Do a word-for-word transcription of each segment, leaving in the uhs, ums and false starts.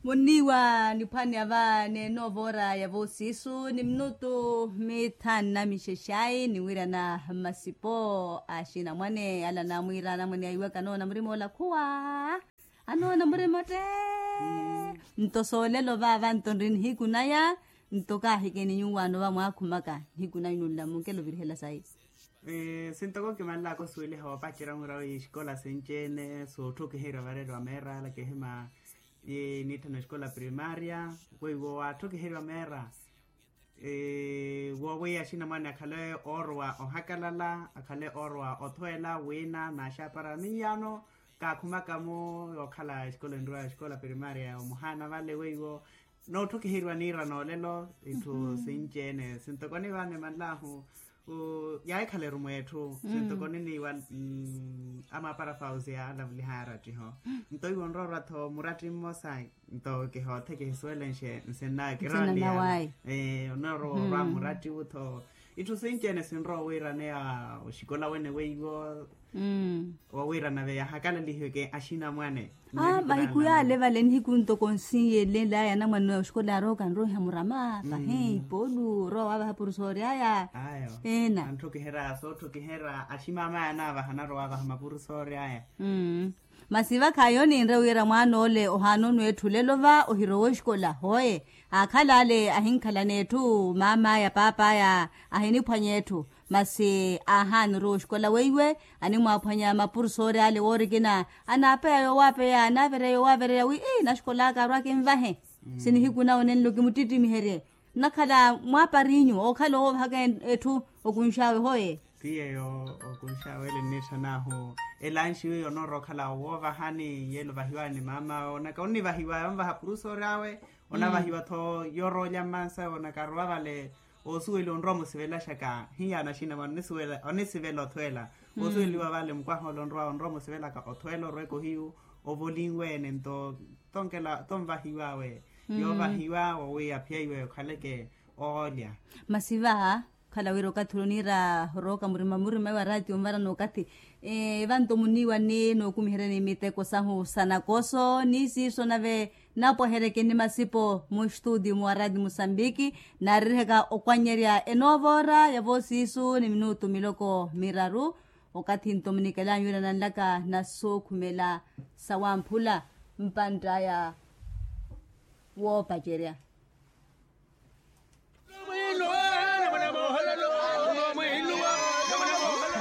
Munniiwa niphwani ava neenoova ora ya voosiisu ni minutu mithanu na mixexayi niwirana masipo a axinamwane ala naamwiira anamwane aiwaka anoona murima ola khuwa. Anoona murima otte. Nto soolelo vaava nto nri nihiku naya. Nto kaahikeni nyuwaano vamwaakhumaka nihiku naya nunla munkelo ovirihela sayi. Sintoko nkimanlaka osuweliha woopacerya mura wi exikola sinci-ene sootthukiherya vareeriwa meerala kihima niitthana exikola primaria weiwo waatthukiherya meera. Woowiya axinamwane akhale oorowa ohakalala akhale oorowa othweela wiina naaxapara miyaano. Kaakhumaka-mo yookhala exikola enriwa exikola primaria omuhaana vale weiwo nootthukiheryiwa niira noolelo itthu sinci-ene sintokoni vane manlahu. Yaahikhala erumo etthu sintokoni niiwa amaapara fausi yaalavuliha arattiho. Nto iwo nroorwa-tho muratti mmosa nto kihootheke hisuwelenxe nsinnawe kirowa niyaala. Onoorowa orwa muratti wu-tho itthu sinci-ene sinrowa owiiraneya oxikola wene weiwo. Woowiirana veya hakalalihiweke axinamwane. Mahiku yaale vale nihiku ntoko nsiiyelelaya anamwane oxikola arooka nroiha murama pahi ipoolu orowa waavaha purusoori aya. Eena antthukiherya sootthukiherya aximamaya anaavaha anarowa waavaha mapurusoori aya. Masi vakhayi oninre wira mwaan'ole ohaana onweetthu olelo va ohirowa oxikola hooye. Aakhala ale ahinkhalana etthu maam'aya paap'aya ahiniphwanya etthu. Masi aahaana orowa oxikola weiwe animwaaphwanya mapurusoori ale woorikina anaapeya yoowaapeya anaavereya yoowaavereya wi naxikola aka arwa akinvahe. Sinihiku nawo nenlo kimuttitimiherye nnakhala mwaapariinyu ookhala owoovahaka etthu okunx'awe hooye. Ti yeeyo okunx'awe ele nnitthan'ahu elanxi wiiya onoorowa okhala woovahani yeele ovahiw'awe ni maam'awe onaka onnivahiw'aya onvaha purusoori awe. Onavahiwa-tho yoroolya mmansawe onaka arowa vale. Oosuweliwa onrowa omusivelaxaka hiyaana axinamwane onisivela othweela. Oosuweliwa vale mukwaha ole onrowa onrowa omusivelaka othweela orweke ohiyu ovolinwe-ene nto tonvahiw'awe. Yoovahiwa wowiya phiya iwe okhaleke oolya. Masi va okhala wira okathi ula oniira orooka murima murima iwa raatiyo onvarana okathi. Evanto muniiwa ni nookumiheryani miteko sahu sa nakoso ni siiso nave napwaheryeke ni masipo muxtuutiyo muwarati musambiki. Naaririhaka okwanyerya enoova ora ya voosiisu ni minutu miloko miraru. Okathi nto munikela nyuwira nanlaka na sookhumela sawamphula mpantt'aya woopacerya.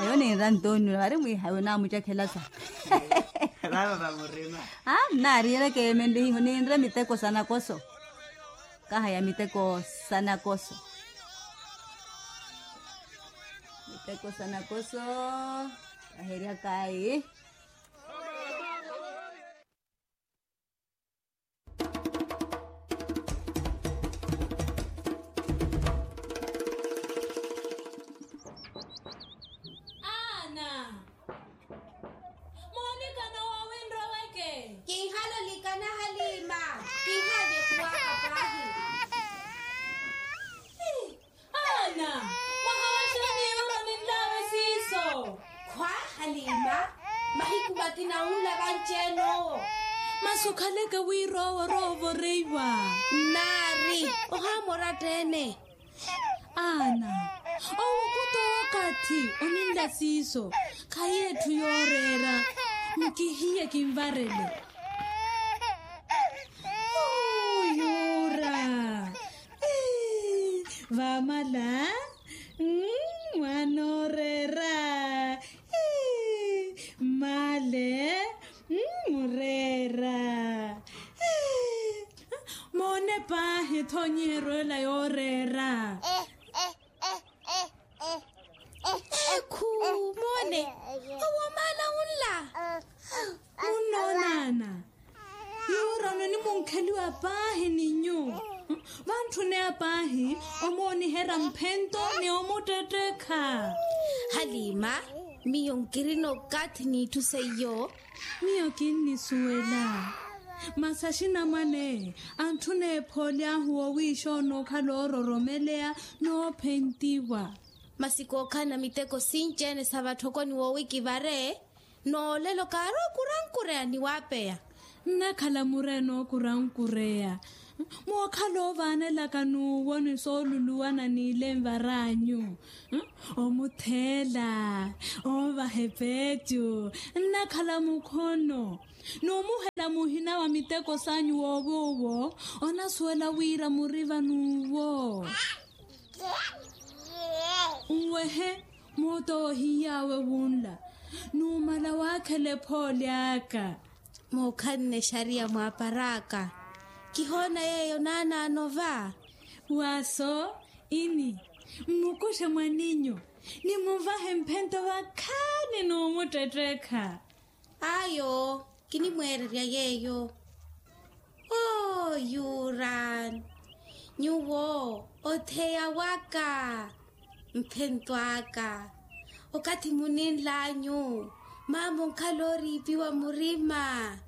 Ayo ninra ntoonino vari mwiihayo naamucakhelasa. Aa nnaariyereke emenlihiho ninre miteko sa nakoso. Kaha ya miteko sa nakoso. Miteko sa nakoso kaheryakayi. Aana. Moonikana woowi nroweke. Kinhalolikana haliima. Kinhaavekuwaka paahi. Aana. Mwahawaxani yuro ninlaawe siiso. Khwa haliima. Mahiku makina unla vanci-ene owo. Masi okhaleke wira owo orowa ovoreiwa. Nnaari. Ohaamora tteene. Aana. Owo khuto okathi oninla siiso. Khayi etthu yooreera. Nkihiye kinvarele. Yuura. Vaamala. Mwaana ooreera. Mmaale. Mureera. Moone paahi ethonyiheryo ela yooreera. Ekhu. Moone. Owo maala unla. Munnoonaana. Yuura ononimunkheliwa paahi ni nyuwo. Vantthune apaahi omooniherya mphento ni omuttettekha. Haliima. Miyo nkirina okathi n'itthu seiyo. Miyo kinnisuwela. Masi axinamwane antthuna ephooly'ahu woowiixa onookhala oororomeleya noophentiwa. Masi kookhalana miteko sinci-ene sa vatthokoni woowi kivare. Noolelo kaarowa okurankureya ni waapeya. Nnakhala mureene okurankureya mookhala ovaanelaka n'uwo ni sooluluwana n'ile nvar'anyu, omutheela, oovaha epeetyo, nnakhala mukhono n'umuhela muhina wa miteko s'anyu woowo owo onasuwela wira muriva n'uwo. Nwehe moota ohiiy'awe wunla numala waakhela ephooli aka. Muukhanne exariya mwaapar'aka. Kihoona yeeyo naanaano va. Waaso ini mmukuxe mwaninyu ni muvahe mphento vakhaani n'umuttettekha. Ayo kinimweererya yeeyo. Oo yuran, nyuwo otheya waka. Mphento aka okathi muninl'anyu maama onkhala ooriipiwa murima.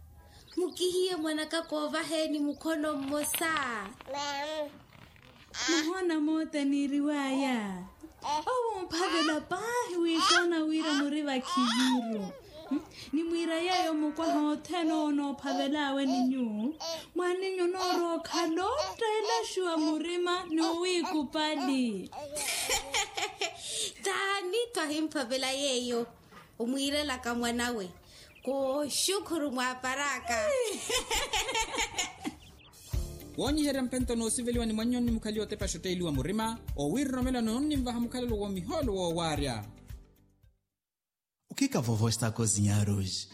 Mukihiye mwanaka koovaheeni mukhono mmosa. Muhoona moota niiriw'aya owo omphavela paahi wiisoona wira muri vakhiviru. Nimwiira yeeyo mukwaha othene owo noophavel'awe ni nyuwo mwaninyu onoorowa okhala ottailaxiwa murima n'uwiikupali. Taani twahimphavela yeeyo omwiirelaka mwanawe. Kooxukhuru mwaapar'aka. Woonyiherya mphento noosiveliwa ni mwannyoni mukhaliwa otepaxa otteeliwa murima owiiroromela noonnimvaha mukhalelo w'omihoolo woowaarya. O que que a vovó está a cozinhar hoje?